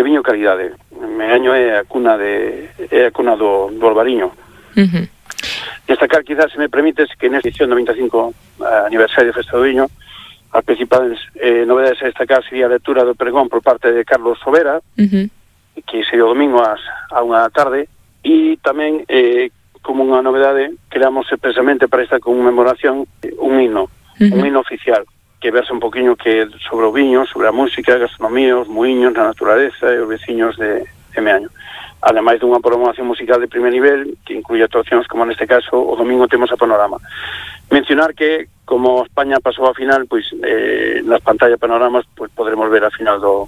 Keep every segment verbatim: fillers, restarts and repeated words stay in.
viño calidade. Meaño é a cuna de é a cuna do, do Albariño. Uh-huh. Destacar, quizás, se me permites, que nesta edición do vinte e cinco aniversario de Festa do Viño, as principales eh, novedades a destacar sería a lectura do pregón por parte de Carlos Sobera, uh-huh. que sería o domingo ás, a unha da tarde, e tamén, eh, como unha novedade, creamos expresamente para esta conmemoración un himno, uh-huh. un himno oficial, que versa un poquinho que sobre o viño, sobre a música, a gastronomía, os muiños, a naturaleza e os veciños de, de Meaño. Ademais dunha programación musical de primer nivel que incluye actuacións como neste caso o domingo temos a Panorama. Mencionar que como España pasou a final, pois eh, nas pantallas panoramas pois podremos ver a final do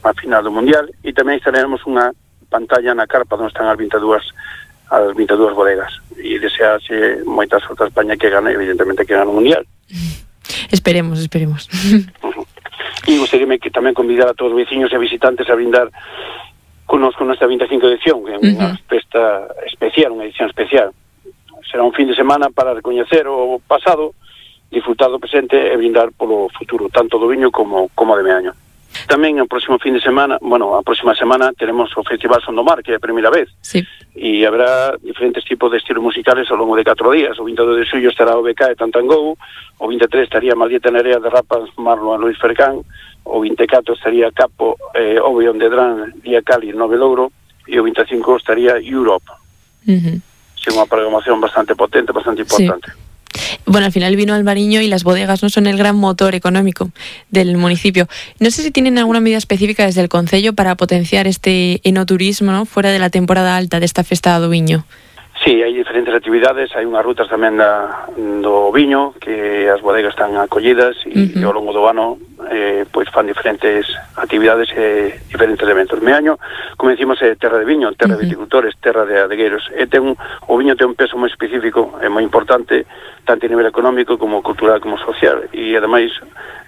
a final do Mundial e tamén instalamos unha pantalla na carpa onde están as vinte e dúas as vinte e dúas bodegas e desearse moita sorte a España que gane, evidentemente que gane o Mundial. Esperemos, esperemos. Uh-huh. E gustaríame que tamén convidar a todos os veciños e visitantes a brindar connosco nesta vinte e cinco edición, que é unha uh-huh. festa especial, unha edición especial. Será un fin de semana para recoñecer o pasado, disfrutar do presente e brindar polo futuro, tanto do viño como, como de Meaño. Tamén o próximo fin de semana, bueno, a próxima semana teremos o Festival Son do Mar, que é a primeira vez. Sí. E haberá diferentes tipos de estilos musicales ao longo de catro días. O vinte e dous de xullo estará o B K e Tantangou, o vinte e tres estaría Maldieta Nerea de Rapas, Marlon e Luis Fercán, o vinte e catro estaría Capo, eh, Obeon de Dran, Día Cali, Nove Louro, e o vinte e cinco estaría Europe. Uh-huh. Sí, unha programación bastante potente, bastante importante. Sí. Bueno, al final el vino albariño y las bodegas no son el gran motor económico del municipio. No sé si tienen alguna medida específica desde el Concello para potenciar este enoturismo, ¿no?, fuera de la temporada alta de esta festa do viño. Sí, hai diferentes actividades, hai unhas rutas tamén da, do viño que as bodegas están acollidas e uh-huh. ao longo do ano eh, pois fan diferentes actividades e diferentes eventos. Meaño, como decimos, é terra de viño, terra uh-huh. de viticultores, terra de adegueiros, e ten un, o viño ten un peso moi específico e moi importante tanto a nivel económico como cultural como social, e ademais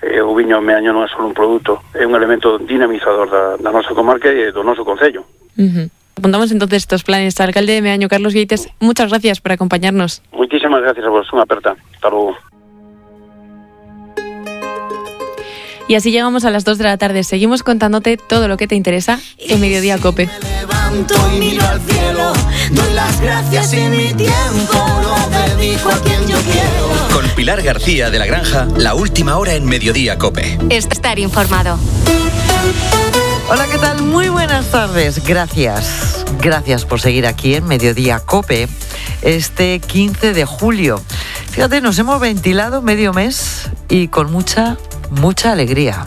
eh, o viño Meaño non é só un produto, é un elemento dinamizador da, da nosa comarca e do noso concello. Uh-huh. Apuntamos entonces estos planes. Alcalde de Meaño, Carlos Gueites, muchas gracias por acompañarnos. Muchísimas gracias a vos, unha aperta. Hasta luego. Y así llegamos a las dos de la tarde. Seguimos contándote todo lo que te interesa en Mediodía Cope. Me levanto y miro al cielo, doy las gracias y mi tiempo lo dedico a quien yo quiero. Con Pilar García de la Granja, la última hora en Mediodía Cope. Estar informado. Hola, ¿qué tal? Muy buenas tardes. Gracias. Gracias por seguir aquí en Mediodía Cope este quince de julio. Fíjate, nos hemos ventilado medio mes y con mucha, mucha alegría.